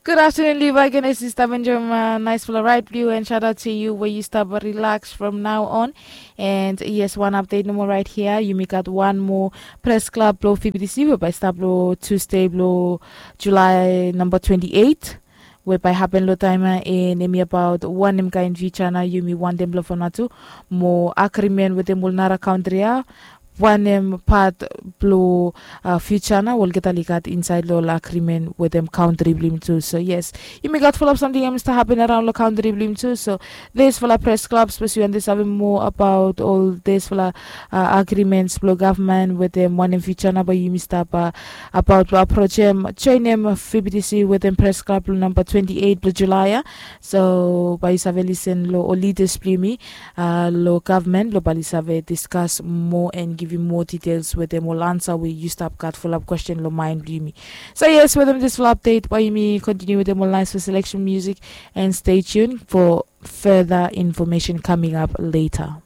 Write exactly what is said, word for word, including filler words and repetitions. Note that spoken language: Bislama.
Good afternoon, Levi Genesis. Stap enjoy my nice full right view and shout out to you where you stop relax from now on. And yes, one update no more right here. Yumi got one more press club blow F B T C whereby stop blow Tuesday blow July number twenty-eight. Whereby happen lo time and emi about one em kind future na yumi want them blow for natu more agreement with them will nara country. Wanem pat blo future na olgeta ligat inside lo ol agreement wetem country blim tu. So yes, yumi gat follow up something em start happen around lo country blim tu. So this fala press club spes yu andi save more about all this fala agreements blo government wetem wanem future na ba yumi stap about blo approach em join em fbtc wetem press club blo number twenty-eight blo july. So ba yu save listen lo ol leaders blo yumi lo government lo bali save discuss more and give you more details wetem ol ansa we yu stap gat follow up question lo mind blo yumi. So yes, wetem this full update ba yumi continue wetem ol nice for selection music and stay tuned for further information coming up later.